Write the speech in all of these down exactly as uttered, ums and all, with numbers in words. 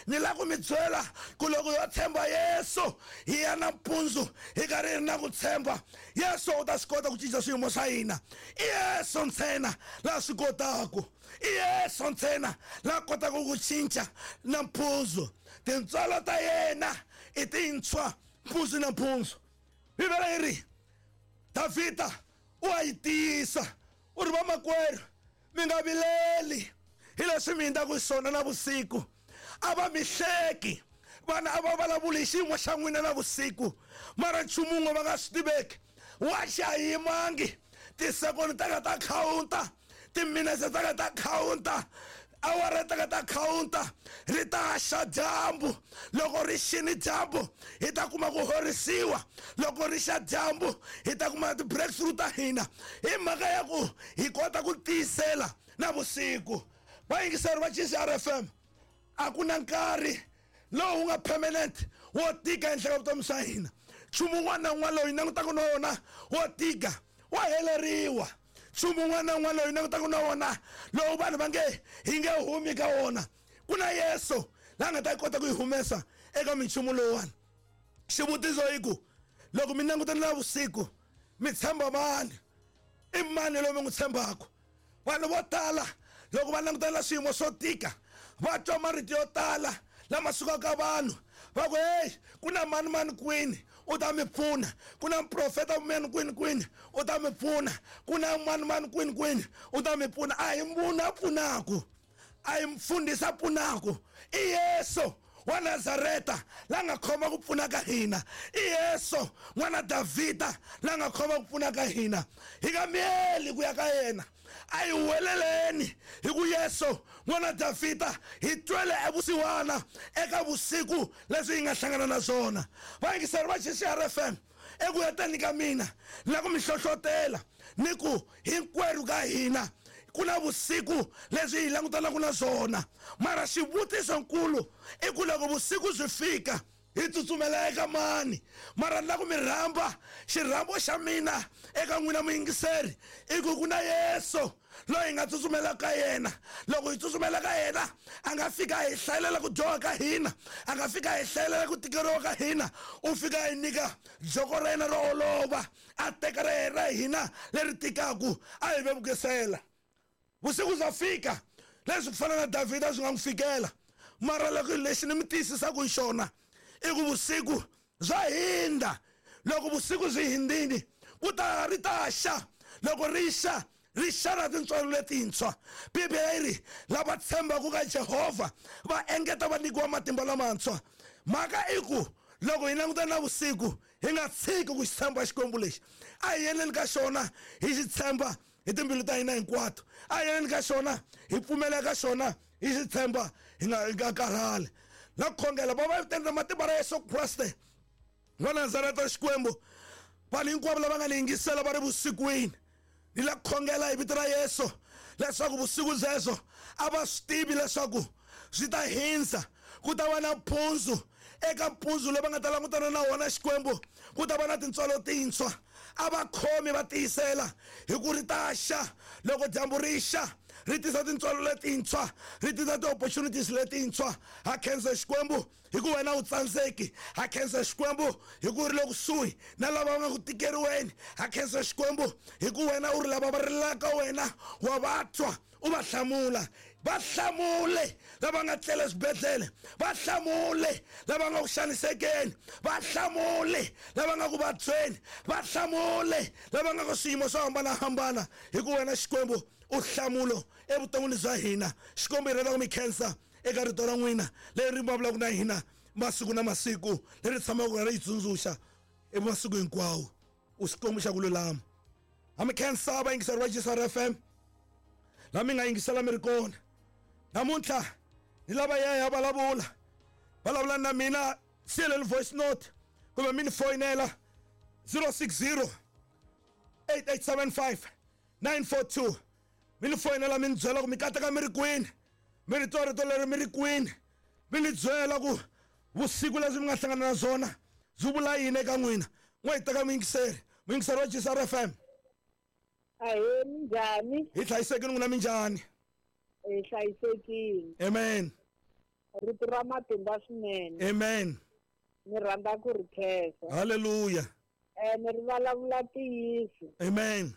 Ni lava ku mi byela ku loko yo tshemba Yesu hi ya nampundzu hi karhi hi ri na ku tshemba Yesu u ta swi kota ku cinca swiyimo swa hina. I Yesu ntsena laha swi kotaku, i Yesu ntsena laha kotaka ku cinca nampundzu. Tintswalo ta yena i tintshwa mpundzu na mpundzu. Bibele yi ri Davhida u a yi tiyisa u ri vamakwerhu mi nga vileli hi leswi mi hundzaka hi swona navusiku. A va mi hleki vana, a va vulavuli hi xiyimo xa n'wina navusiku, mara nchumu wun'we va nga swi tiveki wa xi a yimangi. Tisekoni ta ka ta khawunta, timinetse ta ka ta khawunta, awara ta ka ta khawunta, ri ta xa dyambu. Loko ri xini dyambu hi ta kuma ku horisiwa, loko ri xa dyambu hi ta kuma ti-breakthrough ta hina, hi mhaka ya ku hi kota ku tiyisela navusiku. Vayingiseri va G C R F M, a ku na nkarhi lowu nga permanent wo tika ehenhla ka vutomi bya hina. Nchumu wun'wana na wun'wana lowu hi langutaka na wona wo tika wa heleriwa. Nchumu wun'wana na wun'wana lowu hi langutaka na wona lowu vanhu va nge hi nge humi ka wona, ku na Yesu la nga ta kota ku yi humesa eka minchumu lowuwani. Xivutiso i ku loko mi langutana na vusiku mi tshemba mani? I mani loyi mi n'wi tshembaka? Vanhu vo tala loko va langutana na swiyimo swo tika va twa marito yo tala lama sukaka vanhu va ku hey, ku na mani mani kwini u ta mi pfuna, ku na muprofeta mani kwini kwini u ta mi pfuna, ku na mani mani kwini kwini u ta mi pfuna. A hi munhu a pfunaku, a hi mfundhisi a pfunaku, i Yesu wa Nazareta la nga khoma ku pfuna ka hina, i Yesu n'wana Davhida la nga khoma ku pfuna ka hina. Hi nga miyeli ku ya ka yena, a hi huweleleni hi ku Yesu n'wana Davhida hi twele evusiwana eka vusiku leswi hi nga hlangana na swona. Vayingiseri va G C R F M, eku heteni ka mina na ku mi hlohlotela ni ku hinkwerhu ka hina ku na vusiku leswi hi langutanaka na swona, mara xivutisonkulu i ku loko vusiku byi fika hi tsutsumela eka mani? Mara ni lava ku mi rhamba, xirhambo xa mina eka n'wina muyingiseri i ku ku na Yesu loyi hi nga tsutsumela ka yena. Loko hi tsutsumela ka yena a nga fika a hi hlayelela ku dyoha ka hina, a nga fika a hi hlayelela ku tikeriwa ka hina, u fika a hi nyika joko ra yena ro olova, a teka ra yena ra hina leri tikaku a hi vevukisela. Vusiku bya fika leswi ku fana na Davhida swi nga n'wi fikela, mara loko lexi ni mi tiyisisaka hi xona i ku vusiku bya hindza. Loko vusiku byi hindzile ku ta ri ta xa, loko ri xa ri xa na tintswalo letintshwa. Bibele yi ri lava tshembaka ka Jehovha va engeta va nyikiwa matimba lamantshwa. Mhaka i ku loko hi langutana na vusiku hi nga tshiki ku xi tshemba Xikwembu lexi, a hi yeleni ka xona hi xi tshemba hi timbilu ta hina hinkwato, a hi yeleni ka xona hi pfumela ka xona hi xi tshemba hi nga hi nga karhali. Na ku khongela baba hi viteni ra matimba ra Yesu Kreste wa Nazareta Xikwembu, vanhu hinkwavo lava nga ni yingisela va ri vusikwini, ni la ku khongela hi vito ra Yesu leswaku vusiku byebyo a va swi tivi leswaku swi ta hindza, ku ta va na mpundzu. Eka mpundzu lowu va nga ta langutana na wona Xikwembu ku ta va na tintswalo tintshwa. A va khomi va tiyisela hi ku ri ta xa. Loko dyambu ri xa ri tisa tintswalo letintshwa, ri tisa ti-opportunities letintshwa. Ha khensa Xikwembu hi ku wena u tsandzeki, ha khensa Xikwembu hi ku ri le kusuhi na lava va nga ku tikeriweni, ha khensa Xikwembu hi ku wena u ri lava va rilaka wena wa va twa u va hlamula. Va hlamule lava nga tlela eswibedhlele, va hlamule lava nga ku xanisekeni, va hlamule lava nga ku vabyeni, va hlamule lava nga ka swiyimo swo hambanahambana, hi ku wena Xikwembu u hlamulo evuton'wini bya hina. Xikwembu hi rhandza ku mi khensa eka rito ra n'wina leri ri vulavulaka na hina masiku na masiku, leri tshamaka ri hi tsundzuxa emasiku hinkwawo. U Xikwembu xa ku lulama. Ha mi khensa vayingiseri va G C R F M la mi nga yingisela mi ri kona namuntlha. Ni lava ya ya vulavula vulavula na mina, siyeleni voice note kumbe mi ni foyinela zero six zero eight eight seven five nine four two. Mi ni foyinela mi ni byela ku mi kateka mi ri kwini, mi ri twa rito leri mi ri kwini, mi ni byela ku vusiku leswi mi nga hlangana na swona byi vula yini eka n'wina. N'we hi teka muyingiseri, muyingiseri wa G C R F M. Ahee, minjhani? Hi hlayisekile n'wina, minjhani? Hi hlayisekile. Amen. Rito ra matimba swinene. Amen. Ni rhandza ku ri khensa. Hallelujah. Ene ri vulavula ntiyiso. Amen.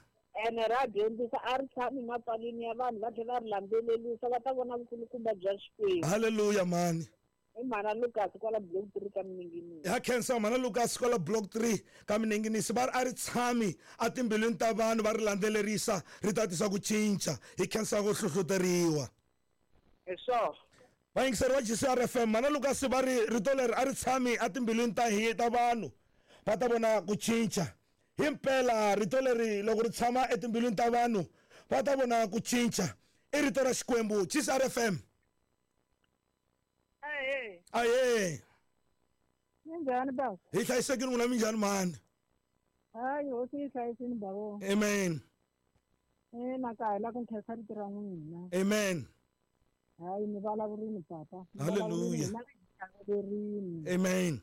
Ene ra dyondzisa a ri tshami mapalini ya vanhu va tlhela va ri landzelerisa va ta vona vukulukumba bya Xikwembu. Hallelujah mani. I mhana Lucas kwala block three ka Minenginisi. Ya khensa mhana Lucas kwala block three ka Minenginisi va ri a ri tshami etimbilwini ta vanhu va ri landzelerisa ri ta tisa ku cinca hi khensa ku hlohloteriwa. Hi swona. Vayingiseri va G C R F M mhana Lucas va ri rito leri a ri tshami etimbilwini ta hi ta vanhu va ta vona ku cinca. Himpela rito leri loko ri tshama etimbilwini ta vanhu va ta vona ku cinca. I rito ra Xikwembu. G C R F M. Aye. Aye. Minjhani baba? Hi hlayisekile n'wina minjhani mhani? Hayi hosi yi hlayisini baba. Amen. Eh na ka la ku nkhensa rito ra n'wina. Amen. Hayi mi vulavurini papa. Hallelujah. Amen.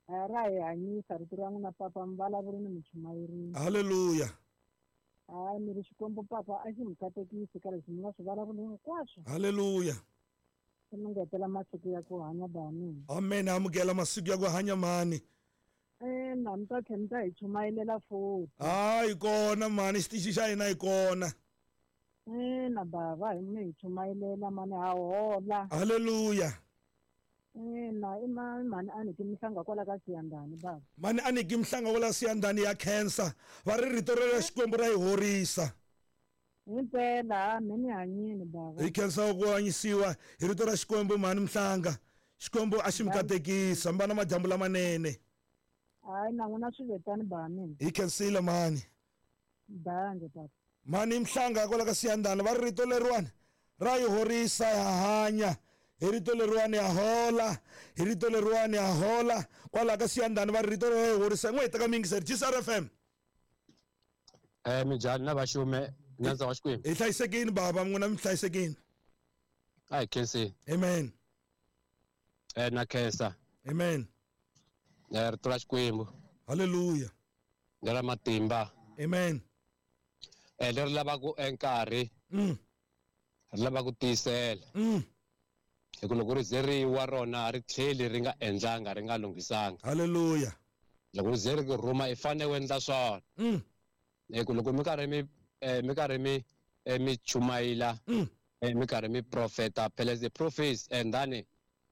Ra hi hanyisa rito ra n'wina papa mi vulavurini mi chumayerini. Hallelujah. Hayi mi ri Xikwembu papa a xi mi katekisi ka leswi mi nga swi vulavula hinkwaswo. Hallelujah. Mi ngetela masiku ya ku hanya bani. Amen. Amukela masiku ya ku hanya mani. Eh na mi ta tlhela mi ta hi chumayelela futhi. Hayi kona mani xitichi xa hina hi kona. Eh na bava hi mi hi chumayelela mani ha hola. Hallelujah. Eh na i mani mani a ni ki mihlanga kwala ka Siyandani baba. Mani a ni ki mihlanga kwala Siyandani ya khensa va ri rito ra Xikwembu ra hi horisa. Himpela mi ni hanyini baba. Hi khensa ku hanyisiwa hi rito ra Xikwembu mhani Mhlanga. Xikwembu a xi mi katekisa mi va na madyambu lamanene. Hayi na n'wina swi vetani baba mina. Hi khensile mhani. Bange baba. Mhani Mhlanga kwala ka Siyandani va ri rito leriwani ra hi horisa ha hanya. Hi rito leriwani ha hola. Hi rito leriwani ha hola. Kwala ka Siyandani va ri rito ra hi horisa. N'we hi teka miyingiseri G C R F M. Eh minjhani na vaxume nandza wa Xikwembu. Hi hlayisekini baba n'wina mi hlayisekini. A hi khensi. Amen. Eh na khensa. Amen. Eh rito ra Xikwembu. Hallelujah. Leri matimba. Amen. Eh leri lavaka enkarhi. Mm. Ri lava ku tiyisela. Mm. Hi ku loko ri ze ri wa rona ri tlheli ri nga endlanga ri nga lunghisanga. Hallelujah. Loko ri ze ri ku rhuma i fanele u endla swona. Mm. Hi ku loko mi karhi mi eh mi karhi mi mi chumayela eh mi karhi mi profeta phela the prophets and then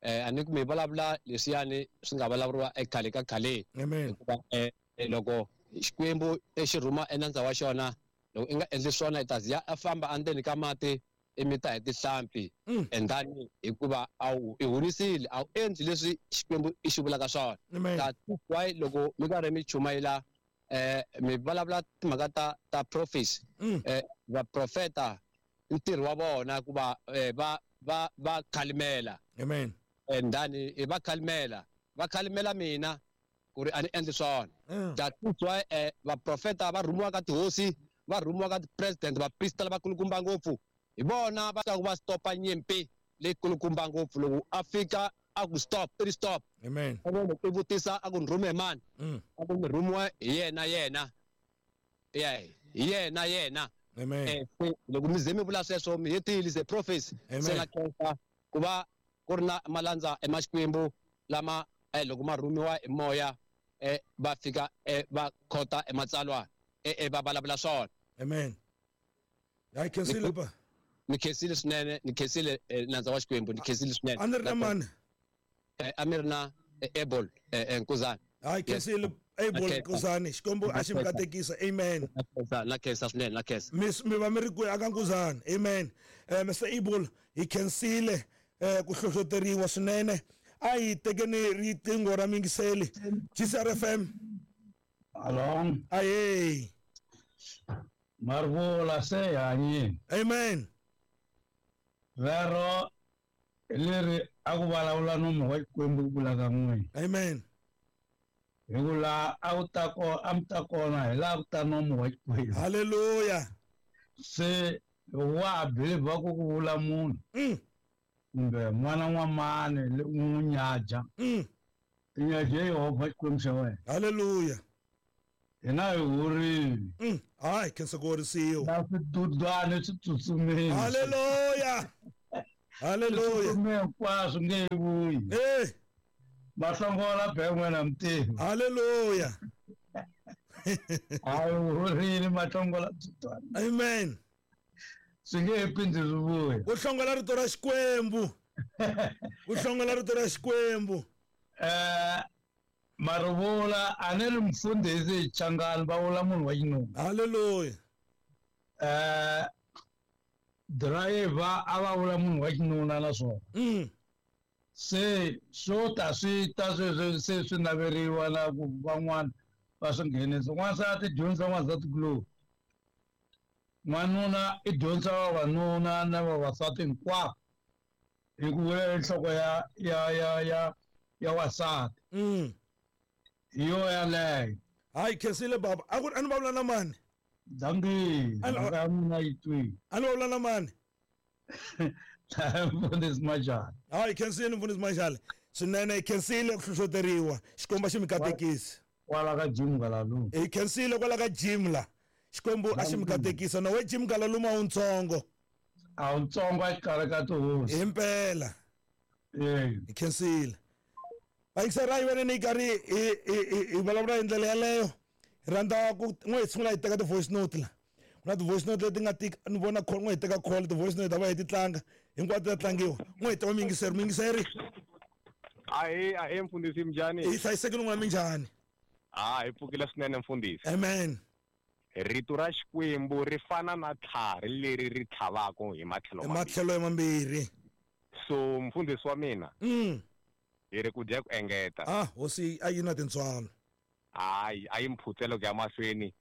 eh a ni ku mi vulavula leswiyani swi nga vulavuriwa ekhale ka khaleni. Amen. Hikuva eh loko Xikwembu xi rhuma enandza wa xona loko i nga endli swona i ta ziya a famba endzeni ka mati i mita hi tihlampfi and then hikuva a wu i honisile a wu endli leswi Xikwembu i xi vulaka swona. That's why loko mi karhi mi chumayela eh mi vulavula timhaka ta ta prophets eh vaprofeta ntirho wa vona ku va va va va khalimela. Amen. And then va khalimela va khalimela mina ku ri a ni endli swona. That's why eh vaprofeta va rhumiwa ka tihosi va rhumiwa ka ti-president vaprista lavakulukumba ngopfu hi vona va ta ku va stopa nyimpi leyikulukumba ngopfu loko a fika a ku stop i stop. Amen. I vutisa a ku ni rhume mani a ku ni rhumiwa hi yena yena yeah hi yena yena. Amen. Eh loko mi ze mi vula sweswo mi hetile the prophecy se na khensa ku va ku ri na malandza emaxikwembu lama eh loko ma rhumiwa hi moya eh va fika eh va khota ematsalwa eh va vulavula swona. Amen. Hayi khensile pa. Ni khensile swinene ni khensile nandza wa Xikwembu ni khensile swinene. A ni ri na mani? A mi ri na Abel Nkuzani. Hayi khensile Abel Nkuzani Xikwembu a xi mi katekisa. Amen. Na khensa swinene na khensa. Mi mi va mi ri kwihi aka Nkuzani? Amen. Eh Mister Abel hi khensile eh ku hlohloteriwa swinene. A hi tekeni riqingho ra miyingiseli G C R F M. Hello. Aye. Marvula se hanyini. Amen. Vero leri a ku vulavula nomu wa Xikwembu ku vula ka n'wina. Amen. Hi ku laha a ku ta kona a mi ta kona hi laha ku ta nomu wa Xikwembu. Hallelujah. Se loko wa ha believer ku ku vula munhu kumbe n'wana n'wamani n'wi nyaja i nyaje Yehovha Xikwembu xa wena. Hallelujah. Hina hi horile. Hayi khensa ku horisiwa. Na swidudwana swi tsutsumile. Hallelujah. Haleluya. Hinkwaswo nge yi vuyi. Eh. Mahlongola be n'wina mutivi. Haleluya. Hayi horini mahlongola tsutwana. Amen. Swi nge he phindi swi vuya. Ku hlongola rito ra Xikwembu. Ku hlongola rito ra Xikwembu. Eh marivula a ni ri mfundhisi hi Changani va vula munhu wa xinuna. Haleluya. Eh driver a va vula munhu wa xinuna naswona. Mm. Se swo ta swi ta sweswo se swi naveriwa na ku van'wana va swi nghenisa. N'wansati dyondzisa n'wansati kuloni. N'wanuna i dyondzisa vavanuna na vavasati hinkwavo hi ku vula nhloko ya ya ya ya ya wasati. Mm. Hi yo yaleyo. Hayi khensile baba. A ku a ni vulavula na mani? Dankie. Mhaka ya mina yi twile. A ni vulavula na mani? Mfundhisi Majali. Hayi khensile mfundhisi Majali. Swinene hi khensile ku hlohloteriwa. Xikwembu xi mi katekisa. Kwala ka Jim Galaluma. Hi khensile kwala ka Jim la. Xikwembu a xi mi katekisa na we Jim Galaluma wutsongo. A wutsongo a xikarhi ka tihosi. Himpela. Eh. Hi khensile. Vayingiseri wena ni karhi hi hi hi vulavula hi ndlela yaleyo. Hi rhandza ku n'we hi sungula hi teka ti-voice note la. Ku na ti-voice note leti nga tika ni vona call n'we hi teka call ti-voice note ta va hi ti tlanga hinkwato ta tlangiwa. N'we hi teka muyingiseri muyingiseri. Ahe ahe mfundhisi minjhani? Hi hlayisekile n'wina minjhani? Ah hi pfukile swinene mfundhisi. Amen. Rito ra Xikwembu ri fana na tlhari leri ri tlhavaka hi matlhelo mambirhi. Matlhelo mambirhi. So mfundhisi wa mina. Mm. Hi ri ku dya ku engeta. Ah hosi a yi na tintswalo. Hayi a yi mphutselo ku ya mahlweni.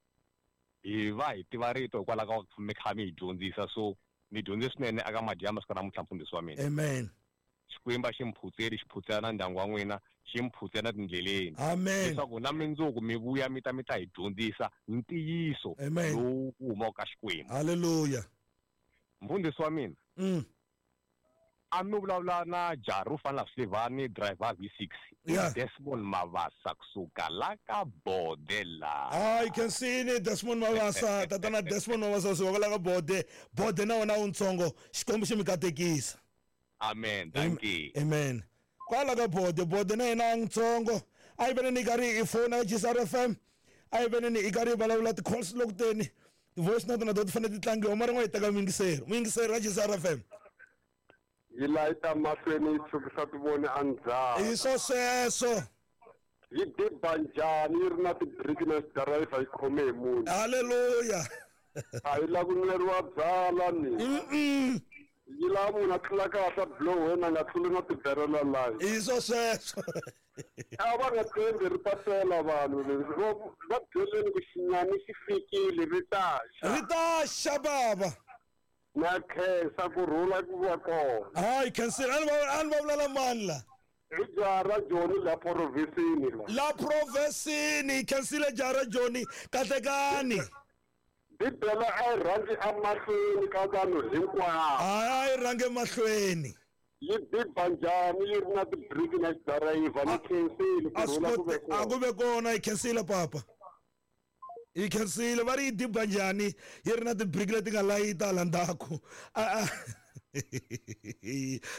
Hi va hi tiva rito hikwalaho ka ku mi kha mi hi dyondzisa so ni dyondze swinene aka madyambu siku namuntlha mfundhisi wa mina. Amen. Xikwembu xi mphutseli xi phutsela na ndyangu wa n'wina xi mphutsela tindleleni. Amen. Leswaku na mindzuku mi vuya mi ta mi ta hi dyondzisa ntiyiso lowu humaka ka Xikwembu. Haleluya. Mfundhisi wa mina. Mm. A mi vulavula na Jaru fana Slivani driver V six. Yeah. Desmond Mavasa kusuka la ka Bode la. Ah, you can see ni Desmond Mavasa, tatana Desmond Mavasa suka la ka Bode. Bode na wona untsongo, Xikwembu xi mi katekisa. Amen. Thank you. Amen. Kwala ka Bode, Bode na yena ntsongo. A yi vene ni karhi i fona G S R F M. A yi vene ni i karhi vulavula ti-calls loko teni. Ti-voice note na to ti fanele ti tlangiwa mara n'we hi teka muyingiseri. Muyingiseri wa G S R F M. Yi layita mahlweni yi tshukisa tivoni endzhaku. Hi swo sweswo. Yi diba njhani yi ri na tibiriki na xidirayivha yi khome hi munhu. Haleluya. A yi lavi ku nweriwa byala ni. Mm. Yi lava munhu a tlula kahle buloweni a nga tluli na tiberela layi. Hi swo sweswo. A va nga tshembi ri pasela vanhu va byeleni ku xinyami xi fikile ri ta xa. Ri ta xa baba. Na khensa ku rhula ku va kona. Hayi khensile a ni va a ni va vulavula mani la. Hi jaha ra Joni la provhinsini la. La provhinsini khensile jaha ra Joni kahlekani. Bibele a yi rhangi emahlweni ka vanhu hinkwavo. A yi rhangi emahlweni. Yi diba njhani yi ri na tibiriki na xidirayivha ni khensile ku rhula ku ve kona. A ku ve kona yi khensile papa. Yi khensile va ri yi diba njhani yi ri na tibiriki leti nga layita hala ndzhaku.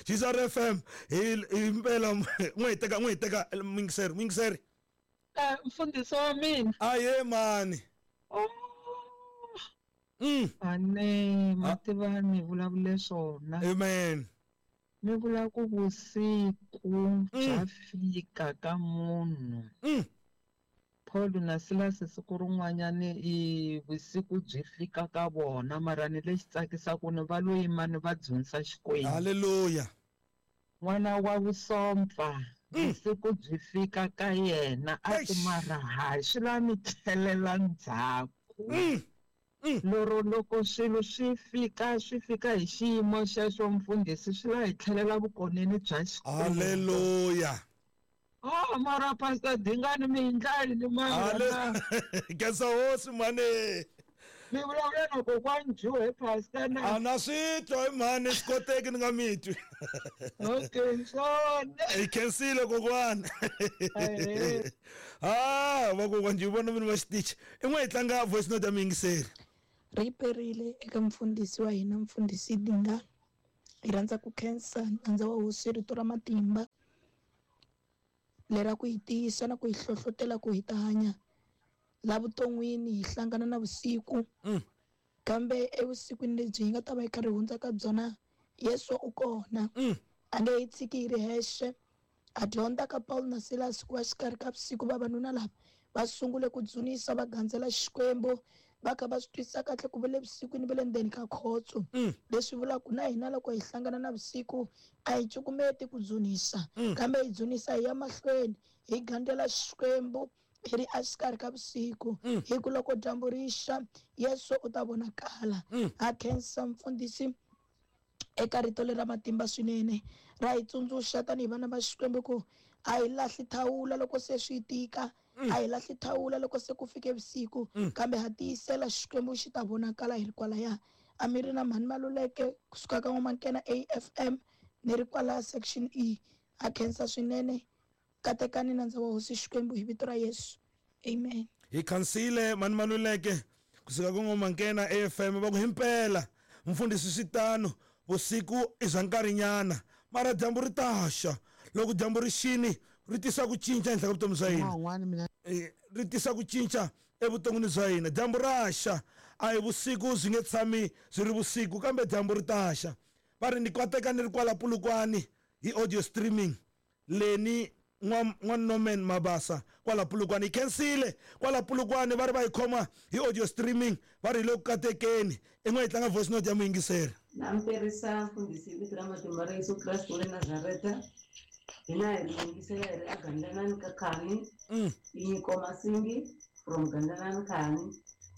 G S R F M hi impela n'we hi teka n'we hi teka muyingiseri muyingiseri. Eh mfundhisi wa mina. Aye mani. Oh. Mm. Ane mativa mi vulavule swona. Amen. Mi vula ku vusiku bya fika ka munhu. Mm. Paul na Silas siku rin'wanyani i vusiku byi fika ka vona mara ni lexi tsakisaka ni va lo yima ni va dzunisa Xikwembu. Haleluya. N'wana wa vusompfa vusiku byi fika ka yena a ku mara hayi swi la mi tlhelela ndzhaku. Mm. Mm. Loro loko swilo swi fika swi fika hi xiyimo xexo mfundhisi swi la hi tlhelela vukoneni bya Xikwembu. Haleluya. Oh mara pastor Dingani mi ndlali ni mara. Khensa hosi mani. Mi vulavula na kokwani Joe pastor na. A na swi twa hi mhani swi koteki ni nga mi twi. Okay swona. Hi khensile kokwani. Ah vakokwani Joe vona mina va xitichi. I n'we hi tlanga voice note ya muyingiseri. Ri perile eka mfundhisi wa hina mfundhisi Dingani. Hi rhandza ku khensa nandza wa hosi rito ra matimba lera ku hi tiyisa na ku hi hlohlotela ku hi ta hanya la vuton'wini hi hlangana na vusiku. Kambe evusikwini lebyi hi nga ta va hi karhi hundza ka byona, Yesu u kona. A nge hi tshiki hi ri hexe. A dyondza ka Paul na Silas ku va xikarhi ka vusiku vavanuna lava va sungule ku dzunisa va gandzela Xikwembu va kha va swi twisisa kahle ku va le vusikwini va le ndzeni ka khotso. Leswi vulaka na hina loko hi hlangana na vusiku a hi cukumeti ku dzunisa, kambe hi dzunisa hi ya mahlweni hi gandzela Xikwembu hi ri exikarhi ka vusiku. Hi ku loko dyambu ri xa, Yesu u ta vonakala. A khensa mfundhisi eka rito leri ra matimba swinene ra hi tsundzuxa tanihi vana va Xikwembu ku a hi lahli thawula loko se swi tika, a hi lahli thawula loko se ku fike vusiku, kambe ha tiyisela Xikwembu xi ta vonakala hi ri kwalaya. A mi ri na Mhani Maluleke kusuka ka N'wamankena A F M ni ri kwala section E. A khensa swinene. Katekani nandza wa hosi Xikwembu hi vito ra Yesu. Amen. Hi khansile Mhani Maluleke kusuka ka N'wamankena A F M va ku himpela mfundhisi switano vusiku i bya nkarhinyana mara dyambu ri ta xa. Loko dyambu ri xini ri tisa ku cinca ehenhla ka vutomi bya hina, ri tisa ku cinca evuton'wini bya hina. Dyambu ra xa, a hi vusiku byi nge tshami byi ri vusiku, kambe dyambu ri ta xa. Va ri ni kwateka ni ri kwala Polokwane hi audio streaming leni n'wa Norman Mabasa kwala Polokwane. Hi khensile kwala Polokwane va ri va hi khoma hi audio streaming, va ri hi le ku katekeni. I n'we hi tlanga voice note ya muyingiseri. Na mperisa mfundhisi vito ra matimba ra Yesu Kreste wa le Nazareta. Hina hi ri yingisela hi ri aGandlanani ka Khani. I Nyiko Masingi from Gandlanani Khani.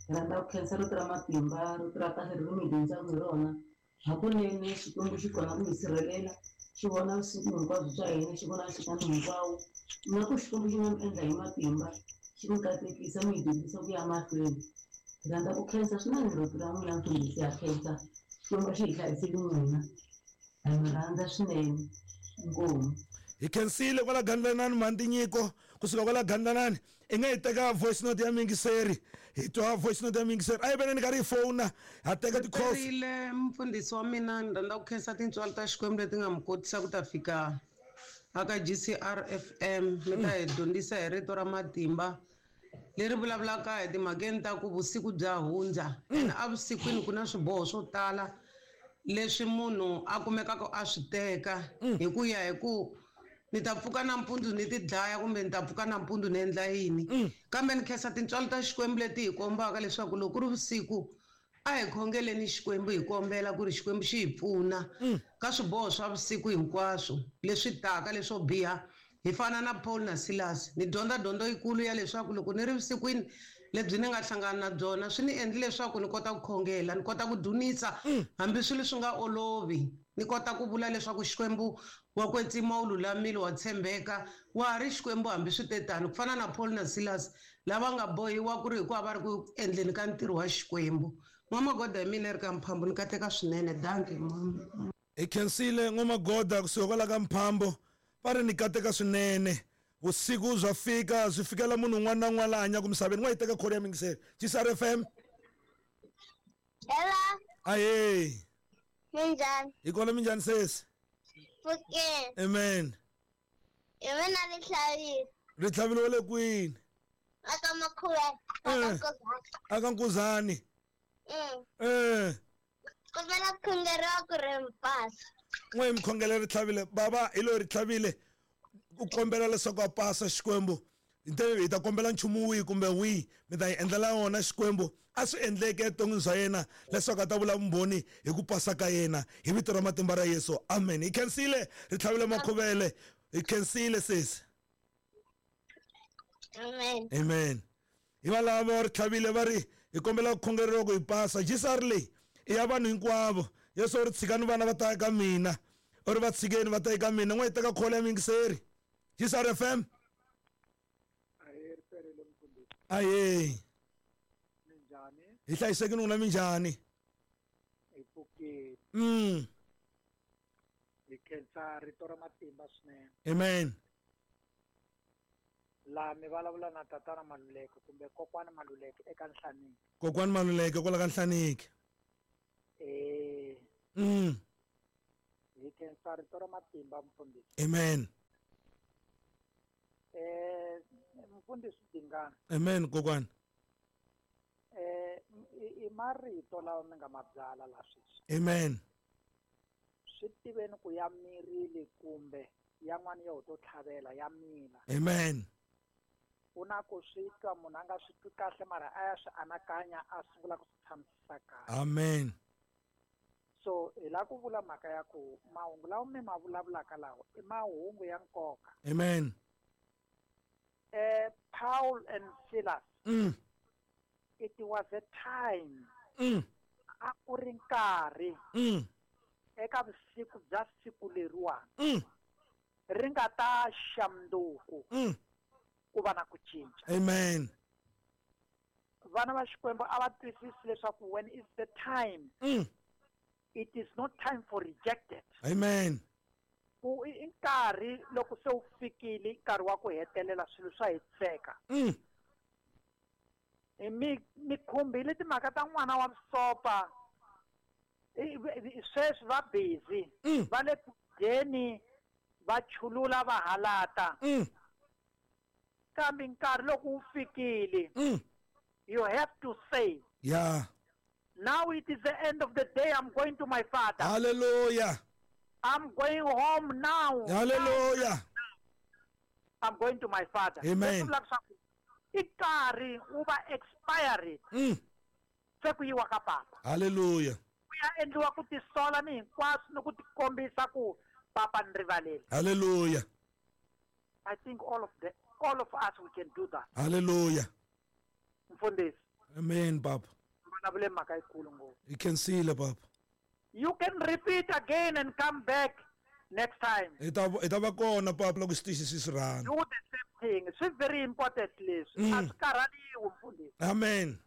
Hi rhandza ku khensa rito ra matimba, rito ra kahle ri mi dyondzaka hi rona. Hakunene Xikwembu xi kona ku hi sirhelela, xi vona vusiku hinkwabyo bya hina, xi vona nhlikani hinkwawo. Na ku Xikwembu xi nga mi endla hi matimba, xi mi katekisa, mi hi dyondzisa ku ya mahlweni. Hi rhandza ku khensa swinene rito ra n'wina mfundhisi, ha khensa. Xikwembu xi hi hlayisile n'wina, hi mi rhandza swinene. Inkomu. Hi khensile kwala Gandlanani Mhani Nyiko kusuka kwala Gandlanani. I nga hi teka voice note ya muyingiseri, hi twa voice note ya muyingiseri. A hi veneni karhi hi fona, ha teka ti-calls. Rile mfundhisi wa mina, ni rhandza ku khensa tintswalo ta Xikwembu leti nga mi kotisa ku ta fika aka G C R F M. Mi ta hi dyondzisa hi rito ra matimba leri vulavulaka hi timhakeni ta ku vusiku bya hundza. Ene evusikwini ku na swiboho swo tala leswi munhu a kumekaka a swi teka hi ku ya hi ku ni ta pfuka nampundzu ni ti dlaya kumbe ni ta pfuka nampundzu ni endla yini. Kambe ni khensa tintswalo ta Xikwembu leti hi kombaka leswaku loko ku ri vusiku a hi khongeleni Xikwembu, hi kombela ku ri Xikwembu xi hi pfuna ka swiboho swa vusiku hinkwaswo leswi taka leswo biha. Hi fana na Paul na Silas. Ni dyondza dyondzo yikulu ya leswaku loko ni ri vusikwini lebyi ni nga hlangana na byona swi ni endle leswaku ni kota ku khongela, ni kota ku dzunisa hambi swilo swi nga olovi. Ni kota ku vula leswaku Xikwembu wa kwetsima, u lulamile, wa tshembeka, wa ha ri Xikwembu hambi swi te tano, ku fana na Paul na Silas lava nga bohiwa ku ri hikuva va ri ku endleni ka ntirho wa Xikwembu. N'wamagoda hi mina ri ka Mphambo, ni kateka swinene. Dankie. Hi khensile N'wamagoda kusuka kwala ka Mphambo, va ri ni kateka swinene. Vusiku bya fika, swi fikela munhu un'wana na un'wana la hanyaka misaveni. N'wa hi teka kholo ya muyingiseri. G C R F M. Hello. Ahee. Minjhani? Hi kona. Minjhani sesi? Pfukeni. Amen. Hi mina Ritlhavile. Ritlhavile wa le kwini? Aka Makhuwela. Aka Nkuzani. Aka Nkuzani. Mm. Eh. Kombela ku khongeriwa ku ri mi pasa. N'we hi mi khongela Ritlhavile. Baba hi loyi Ritlhavile u kombela leswaku a pasa Xikwembu. Hi ta kombela nchumu wihi kumbe wihi mi ta hi endlela wona Xikwembu a swi endleke evuton'wini bya yena leswaku a ta vula vumbhoni hi ku pasa ka yena hi vito ra matimba ra Yesu. Amen. Hi khensile Ritlhavile Makhuvele. Hi khensile sesi. Amen. Amen. Hi valava Ritlhavile va ri hi kombela ku khongeriwa ku hi pasa. G C R leyi i ya vanhu hinkwavo. Yesu u ri tshikani vana va ta eka mina, u ri va tshikeni va ta eka mina. N'we hi teka kholo ya muyingiseri. G C R F M. Ahee. Minjhani? Hi hlayisekile n'wina, minjhani? Hi pfukile. Mm. Hi khensa rito ra matimba swinene. Amen. Laha mi vulavula na tatana Maluleke kumbe kokwana Maluleke eka Nhlaniki. Kokwana Maluleke kwala ka Nhlaniki. Eh. Mm. Hi khensa rito ra matimba mfundhisi. Amen. Eh mfundhisi Dingani. Amen kokwana. Eh i marito lawa mi nga ma byala la sweswi. Amen. Swi tiveni ku ya mirile kumbe yan'wana yo to tlhavela ya mina. Amen. U na ku swi twa munhu a nga swi twi kahle mara a ya swi anakanya a sungula ku swi tshamisisa kahle. Amen. So hi la ku vula mhaka ya ku mahungu lawa mi ma vulavulaka lawa i mahungu ya nkoka. Amen. Eh Paul and Silas. Mm. It was a time. Mm. A ku ri nkarhi. Mm. Eka vusiku bya siku leriwani. Mm. Ri nga ta xa mundzuku. Mm. Ku va na ku cinca. Amen. Vana va Xikwembu a va twisisi leswaku when is the time. Mm. It is not time for rejected. Amen. Ku i nkarhi loko se wu fikile nkarhi wa ku hetelela swilo swa hetiseka. Mm. Mi mi khumbile timhaka ta n'wana wa vusopfa. Sweswi va busy. Mm. Va le ku dyeni va chulula va halata. Mm. Kambe nkarhi loko wu fikile. Mm. You have to say. Yeah. Now it is the end of the day. I'm going to my father. Hallelujah. I'm going home now. Hallelujah. Now. I'm going to my father. Amen. I nkarhi wu va expired. Mm. Se ku yiwa ka papa. Hallelujah. Ku ya endliwa ku tisola ni hinkwaswo ni ku tikombisa ku papa ni rivaleli. Hallelujah. I think all of the all of us we can do that. Hallelujah. Mfundhisi. Amen, papa. Vulavule mhaka yikulu ngopfu. You can see le papa. You can repeat again and come back next time. Hi ta hi ta va kona papa loko xitichi xi swi rhandza. Do the same thing. Swi very important leswi. A swi karhaliwi mfundhisi. Amen.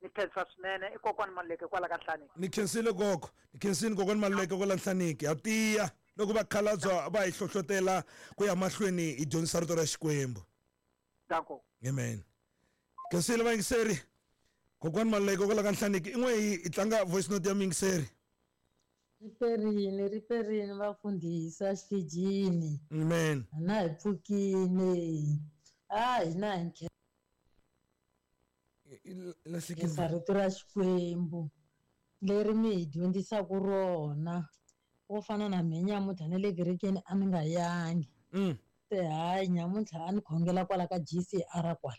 Ni khensa swinene i kokwani Maluleke kwala ka Nhlaniki. Ni khensile gogo. Ni khensile kokwani Maluleke kwala Nhlaniki. Ha tiya loko va khalabya va hi hlohlotela ku ya mahlweni hi dyondzisa rito ra Xikwembu. Danko. Amen. Khensile vayingiseri. Kokwani Maluleke kwala ka Nhlaniki. I n'we hi tlanga voice note ya muyingiseri. Riperini riperini vafundhisi xitijini. Amen. Na hi pfukile. A hina hi khensa rito ra Xikwembu leri mi hi dyondzisaka rona. Wo fana na mina nyamuntlha na le kerekeni a ni nga yangi. Se hayi nyamuntlha a ni khongela kwala ka G C R kwala.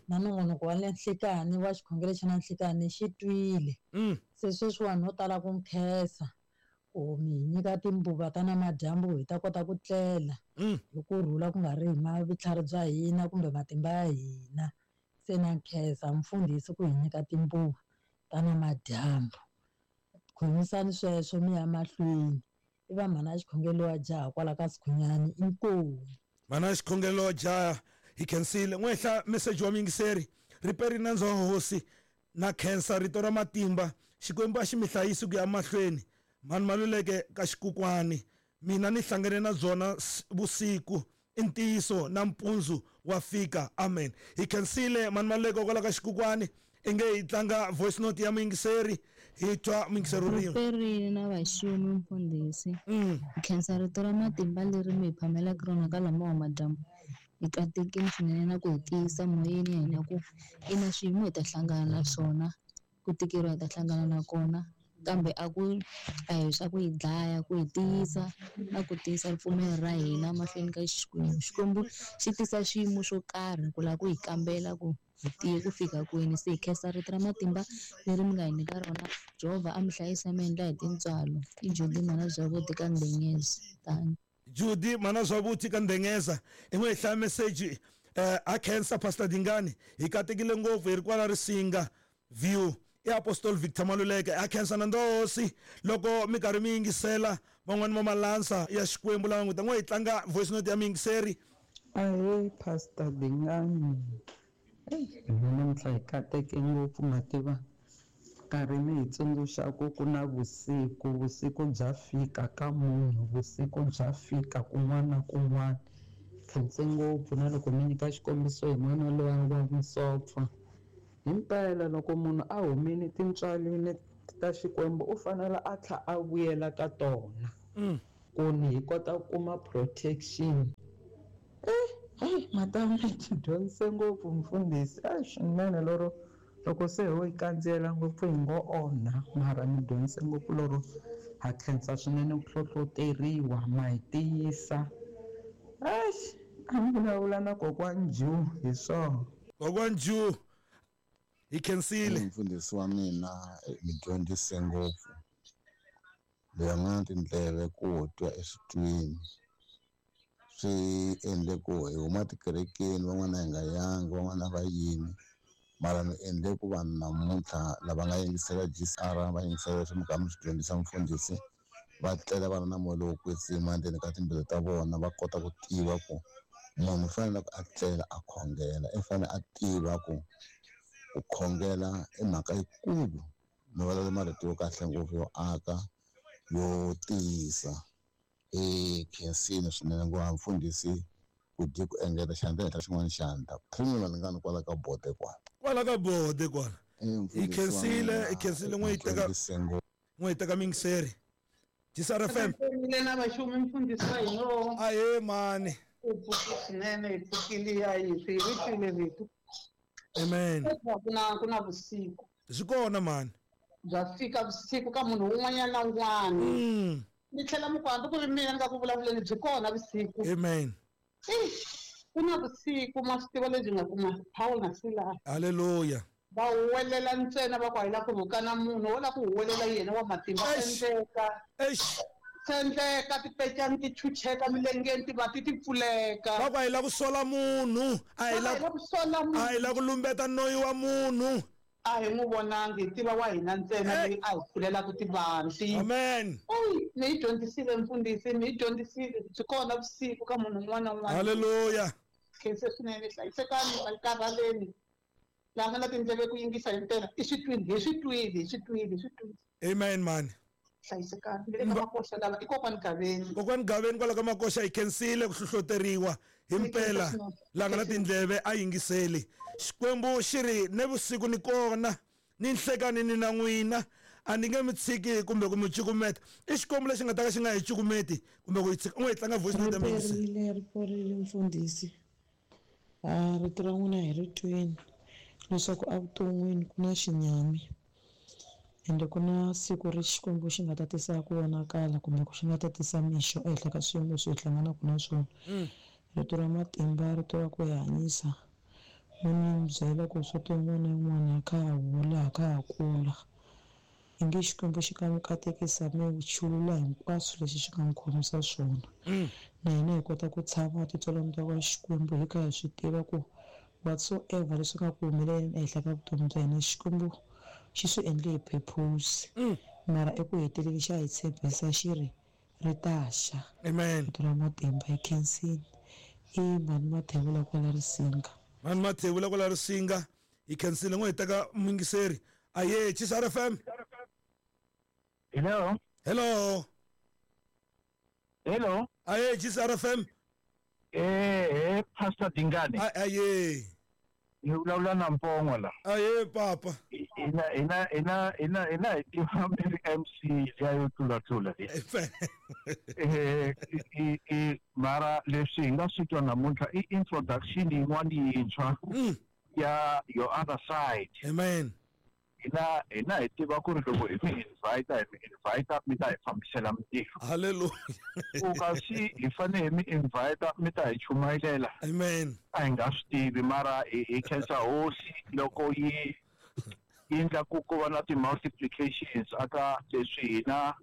Na nongonoko wa le nhlikani wa xikhongelo xa na nhlikani xi twile. Se sweswiwani no tala ku nkhensa ku mi hi nyika timbuva ta namadyambu hi ta kota ku tlela hi kurhula ku nga ri hi vutlhari bya hina kumbe matimba ya hina. Se na nkhensa mfundhisi ku hi nyika timbuva ta namadyambu. Khomisani sweswo mi ya mahlweni. I va mhana ya xikhongelo wa jaha kwala ka Sikhunyani inkomu. Mhana ya xikhongelo wa jaha hi khensile. N'wehla message wa muyingiseri. Riperi nandzu wa hosi na khensa rito ra matimba. Xikwembu a xi mi hlayisi ku ya mahlweni. Mhani Maluleke ka xikukwani. Mina ni hlangane na byona vusiku. I ntiyiso na mpundzu wa fika. Amen. Hi khensile mhani Maluleke kwala ka xikukwani. I nge hi tlanga voice note ya muyingiseri. Hi twa muyingiseri rin'we. Riperini na vaxumi mfundhisi. Hi khensa rito ra matimba leri mi hi phamelaka rona ka lama wa madyambu. Hi katekile swinene na ku hi tiyisa moyeni ya hina ku ina swiyimo hi ta hlangana na swona, ku tikeriwa hi ta hlangana na kona, kambe a ku a hi swa ku hi dlaya, ku hi tiyisa na ku tiyisa ripfumelo ra hina mahlweni ka Xikwembu. Xikwembu xi tisa swiyimo swo karhi ku lava ku hi kambela ku hi tiye ku fika kwini. Se hi khensa rito ra matimba leri mi nga hi nyika rona. Jehovha a mi hlayisa mi endla hi tintswalo. I Judy mhana Zwavuti ka Ndengeza. Tani. Judy mhana Zwavuti ka Ndengeza. I n'we hi hlaya message eh a khensa Pastor Dingani. Hi katekile ngopfu hi ri kwala Risinga view. I Apostle Victor Maluleke a khensa na ndosi loko mi karhi mi yingisela van'wani va malansa ya Xikwembu lava n'wi ta n'we hi tlanga voice note ya muyingiseri. Ahee Pastor Dingani. Hina namuntlha hi kateke ngopfu mativa nkarhi mi hi tsundzuxaku ku na vusiku vusiku bya fika ka munhu vusiku bya fika kun'wana na kun'wana. Khense ngopfu na loko mi nyika xikombiso hi n'wana loyi wa vusopfa. Himpela loko munhu a humile tintswalini ta Xikwembu u fanele a tlha a vuyela ka tona. Ku ni hi kota ku kuma protection. Eh, hey, madam mi dyondzise ngopfu mfundhisi. A swinene loro loko se ho yi kandziyela ngopfu hi ngo onha, mara mi dyondzise ngopfu loro ha khensa swinene ku hlohloteriwa, ma hi tiyisa. Eish, a ni vulavula na kokwani Ju hi swona. Kokwani Ju hi khensile. Mfundhisi wa mina mi dyondzise ngopfu. Loyi a nga na tindleve ku twa eswitwini swi endle ku hi huma tikerekeni, van'wana hi nga yangi, van'wana va yimi, mara mi endle ku vanhu namuntlha lava nga yingisela G C R va yingisela leswi mi kha mi swi dyondzisa mfundhisi, va tlela va ri na moya lowo kwetsima endzeni ka timbilu ta vona, va kota ku tiva ku munhu u fanele ku a tlela a khongela, i fanele a tiva ku ku khongela i mhaka yikulu. Mi vulavula marito yo kahle ngopfu yo aka, yo tiyisa. E khensile swinene ngopfu mfundhisi ku dyi ku engeta xandla henhla xin'wana xandla premium malingani kwala ka bode kwala kwala ka bode kwala. Hi khensile, hi khensile n'we yi teka n'we yi teka mingiseri G C R F M. Mina vaxumi mfundhisi wa hina. Ahe mani u pfuki swinene, hi pfukile ya hi swi ri twile rito. Amen. Ku na ku na vusiku swi kona mani, bya fika vusiku ka munhu un'wanyana na un'wana. Ni tlhela mi ku hambi ku ri mina ni nga ku vulavuleni byi kona vusiku. Amen. Ku na vusiku ma swi tiva lebyi nga kuma Paul na Silas. Hallelujah. Va huwelela ntsena va ku a hi la ku rhukana munhu, wo la ku huwelela yena wa matimba. Endleka sendleka tipecani ti chucheka milengeni ti va ti ti pfuleka. Va ku a hi la ku sola munhu, a hi la ku sola munhu, a hi la ku lumbeta noyi wa munhu. A hi n'wi vonangi, hi tiva wa hina ntsena leyi a hi pfulelaka tivanti. Amen. Eyi, mi yi dyondzisile mfundhisi, mi yi dyondzisile. Byi kona vusiku ka munhu un'wana na un'wana. Hallelujah. Khense swinene, hlayisekani, va karhaleni. Laha nga na tindleve ku yingisa hi mpela, i swi twile, hi swi twile, hi swi twile, hi swi twile. Amen mani. Hlayisekani. Ni le ka Makoxa lava, i kokwani Gaveni. Kokwani Gaveni kwala ka Makoxa hi khensile ku hlohloteriwa hi mpela. Laha nga na tindleve a yingiseli. Xikwembu xi ri ne vusiku ni kona, ni nhlekani ni na n'wina, a ni nge mi tshiki kumbe ku mi cukumeta. I Xikwembu lexi nga ta ka xi nga hi cukumeti kumbe ku hi tshika. U nga hi tlanga voice note ya muyingiseri. Ri riporile mfundhisi. A rito ra n'wina hi ri twini leswaku evuton'wini ku na xinyami, ende ku na siku ri Xikwembu xi nga ta tisa ku vonakala kumbe ku xi nga ta tisa mixo ehenhla ka swiyimo leswi hi hlanganaka na swona. Rito ra matimba, rito ra ku hi hanyisa. Ni byela ku swa tin'wana na yin'wana kha ha hula, kha ha kula. Inge Xikwembu xi ka mi katekisa mi chulula hinkwaswo leswi xi nga mi khomisa swona. Na hina hi kota ku tshama titswalani ta ka Xikwembu hi kha hi swi tiva ku whatsoever leswi nga ku humeleleni ehenhla ka vutomi bya hina, Xikwembu xi swi endle hi purpose. Mara eku heteleleni xa hi tshembisa xi ri ri ta xa. Amen. Rito ra matimba hi khensile. I mani Mathevula kwala Risinga. Mani Mathevula kwala Risinga hi khensile n'we hi teka muyingiseri. Aye, G C R F M. Hello. Hello. Hello. Aye, G C R F M. Eh, eh, Pastor Dingane. Aye. Ni vulavula na Mpongo la. Aye, papa. Ina ina ina ina ina tiva mi M C ya yo tlula tlula le. Eh, i i mara leswi hi nga swi twa namuntlha i introduction yin'wana yintshwa ya your other side. Amen. Hina hina hi tiva ku ri loko hi mi invite hi mi invite mi ta hi fambisela mintirho. Hallelujah. Ku kasi hi fanele hi mi invite mi ta hi chumayelela. Amen. A hi nga swi tivi mara hi hi khensa hosi loko yi yi endla ku ku va na ti-multiplications aka leswi hina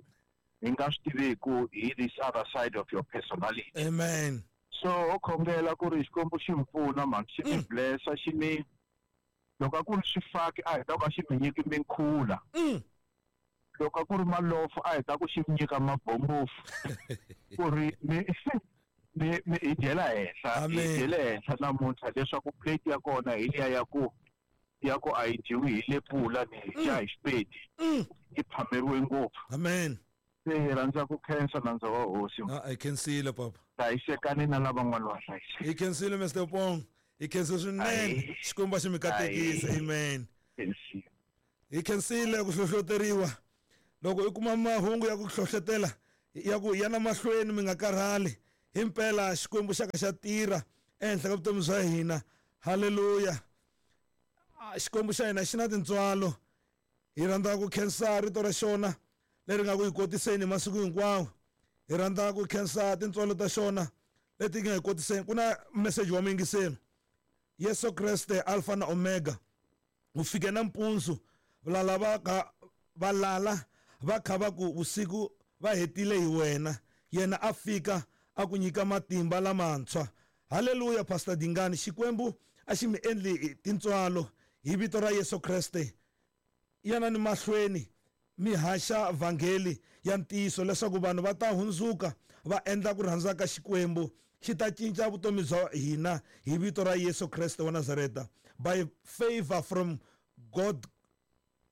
hi nga swi tiviku hi this other side of your personality. Amen. So ho khongela ku ri Xikwembu xi mi pfuna mani, xi mi blessa, xi mi loko a ku ri swifaki a hi ta ku a xi mi nyiki minkhula. Loko a ku ri malofo a hi ta ku xi mi nyika mabombofu ku ri mi mi mi hi dyela henhla, hi dyele henhla namuntlha leswaku plate ya kona hi liya ya ku ya ku a yi dyiwi hi lepula ni hi dya hi xipedi, yi phameriwe ngopfu. Amen. Se hi rhandza ku khensa nandza wa hosi. A hi khensile papa. Hlayisekani na lavan'wana va hlayiseka. Hi khensile Mister Pong. Hi khensile swinene. Xikwembu xi mi katekisa. Amen. Hi khensile ku hlohloteriwa. Loko i kuma mahungu ya ku hlohletela Ya ku yana mahlweni mi nga karhali himpela Xikwembu xa ka xa tirha ehenhla ka vutomi bya hina. Haleluya. Xikwembu xa hina xi na tintswalo. Hi rhandza ku khensa rito ra xona leri nga ku hi kotiseni masiku hinkwawo. Hi rhandza ku khensa tintswalo ta xona leti nga hi kotiseni. Ku na message wa muyingiseri. Yesu Kreste Alpha na Omega u fike nampundzu valala va ka valala va kha va ku vusiku va hetile hi wena, yena a fika a ku nyika matimba lamantshwa. Haleluya. Pastor Dingani, Xikwembu a xi mi endli tintswalo hi vito ra Yesu Kreste. Yana ni mahlweni mi haxa vhangeli ya ntiyiso leswaku vanhu va ta hundzuka va endla ku rhandza ka Xikwembu. Xi ta cinca vutomi bya hina hi vito ra Yesu Kreste wa Nazareta. By favor from God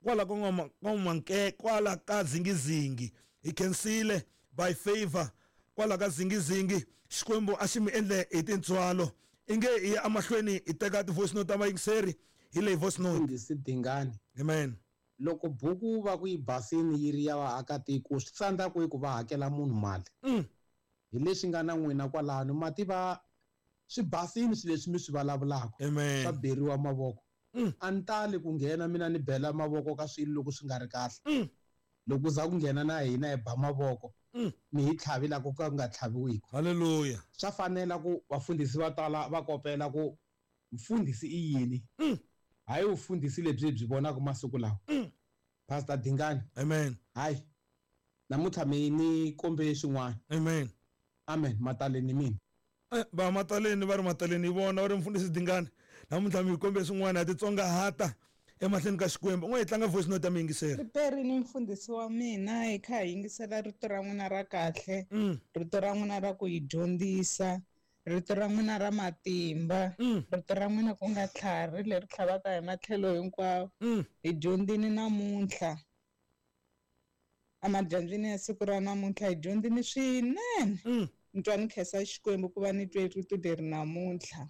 kwala ka kwala ka zingizingi. Hi khensile by favor kwala ka zingizingi. Xikwembu a xi mi endle hi tintswalo. Inge hi ya emahlweni hi teka ti-voice note ta vayingiseri. Hi leyi voice note. Mfundhisi Dingani. Amen. Loko buku va ku yi basini yi ri ya vaakatiko swi tsandza ku ku va hakela munhu mali. Mm. Hi leswi nga na n'wina kwalano mati va swi basini swilo leswi mi swi vulavulaka. Amen. Swa beriwa mavoko. Mm. A ni tali ku nghena mina ni bela mavoko ka swilo loko swi nga ri kahle. Mm. Loko za ku nghena na hina hi ba mavoko. Mm. Mi hi tlhavi la ku ka ku nga tlhaviwiki. Haleluya. Swa fanela ku vafundhisi va tala va kopela ku mfundhisi i yini. Mm. Hayi vufundhisi lebyi byi vonaka masiku lawa. Mm. Pastor Dingani. Amen. Hayi. Namuntlha mi ni kombe swin'wana. Amen. Amen. Mataleni mina. Eh, va mataleni va ri mataleni hi vona va ri mfundhisi Dingani. Namuntlha mi kombe swin'wana ya titsongahata emahlweni ka Xikwembu. N'we hi tlanga voice note ya muyingiseri. Riperi ni mfundhisi wa mina hi kha hi yingisela rito ra n'wina ra kahle. Mm. Rito ra n'wina ra ku hi dyondzisa. Rito ra n'wina ra matimba. Mm. Rito ra n'wina ku nga tlhari leri tlhavaka hi matlhelo hinkwawo. Mm. Hi dyondzini namuntlha. Emadyambyini ya siku ra namuntlha hi dyondzini swinene. Mm. Ni twa ni khensa Xikwembu ku va ni twe rito leri namuntlha.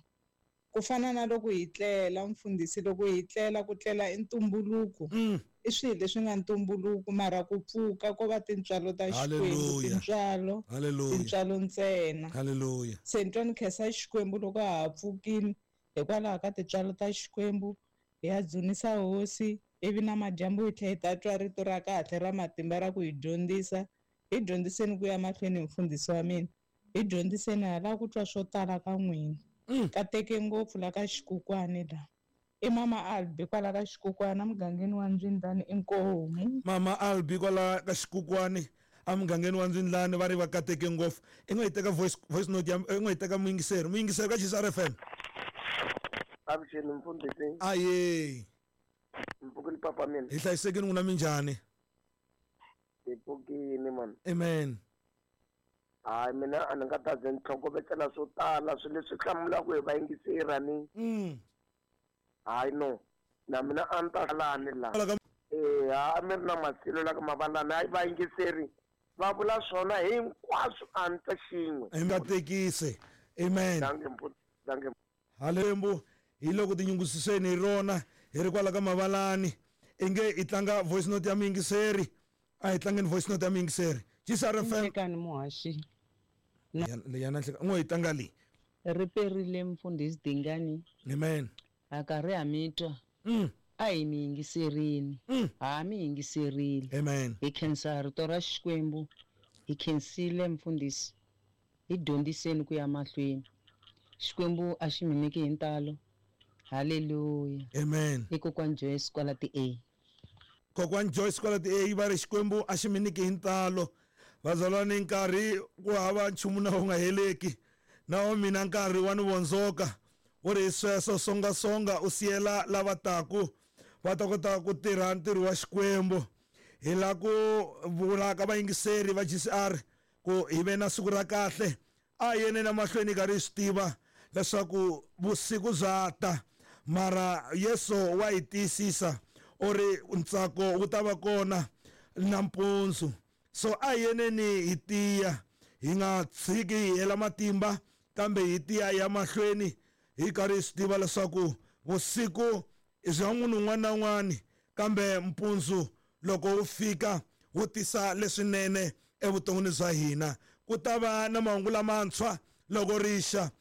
Ku fana na loko hi tlela mfundhisi, loko hi tlela ku tlela i ntumbuluko. Mm. I swilo leswi nga ntumbuluko mara ku pfuka ko va tintswalo ta Xikwembu, tintswalo, tintswalo ntsena. Haleluya. Se ni twa ni khensa Xikwembu loko ha ha pfukile hikwalaho ka tintswalo ta Xikwembu. Hi ya dzunisa hosi ivi na madyambu hi tlhela hi ta twa rito ra kahle ra matimba ra ku hi dyondzisa. Hi dyondziseni ku ya mahlweni mfundhisi wa mina. Hi dyondziseni ha lava ku twa swo tala ka n'wina. Mm. Kateke ngopfu la ka Xikukwani la. I Mama Albi kwala ka Xikukwani emugangeni wa Ndzwindlani inkomu. Mama Albi kwala ka Xikukwani emugangeni wa Ndzwindlani va ri va kateke ngopfu. I nga yi teka voice voice note ya i nga yi teka muyingiseri. Muyingiseri ka G C R F M. Avuxeni mfundhisi. Aye. Mpfukile papa mina. Hi hlayisekile n'wina minjhani? Hi pfukile man. Amen. Hayi mina a ni nga ta ze ni tlhokovetsela swo tala swilo leswi hlamulaka hi vayingiseri ni. Mm. Hayi no. Na mina a ni ta lani la. Eh, a mi ri na masilo la ka mavalani hayi vayingiseri va vula swona hinkwaswo a ni ta xin'we. Hi nga tekise. Amen. Dankie mfundhisi. Dankie. Halembu hi loko tinyungubyiseni hi rona hi ri kwala ka mavalani. Inge hi tlanga voice note ya muyingiseri. A hi tlangeni voice note ya muyingiseri. G C R F M. Nhlekani muhaxi. Yana nhleka n'we hi tlanga leyi. Ri perile mfundhisi Dingani. Amen. A karhi ha mi twa. Mm. A hi mi yingiserini. Mm. Ha mi yingiserile. Amen. Hi khensa rito ra Xikwembu. Hi khensile mfundhisi. Hi dyondziseni ku ya mahlweni. Xikwembu a xi mi nyiki hi ntalo. Haleluya. Amen. I kokwani Joyce kwala ti A. Kokwani Joyce kwala ti A va ri Xikwembu a xi mi nyiki hi ntalo. Vazalwane nkarhi ku hava nchumu na wu nga heleki. Na wa mina nkarhi wa ni vondzoka. Wu ri sweswo songasonga u siyela lava taku va ta kota ku tirha ntirho wa Xikwembu. Hi la ku vula ka vayingiseri va G C R ku hi ve na siku ra kahle. A yene na mahlweni karhi hi swi tiva leswaku vusiku bya ta mara Yesu wa hi tiyisisa u ri ntsako wu ta va kona nampundzu. So a yeneni hi tiya hi nga tshiki hi hela matimba kambe hi tiya ya mahlweni hi karhi hi swi tiva leswaku vusiku i bya munhu un'wana na un'wana kambe mpundzu loko wu fika wu tisa leswinene Evuton'wini bya hina ku ta va na mahungu lamantshwa loko rixa.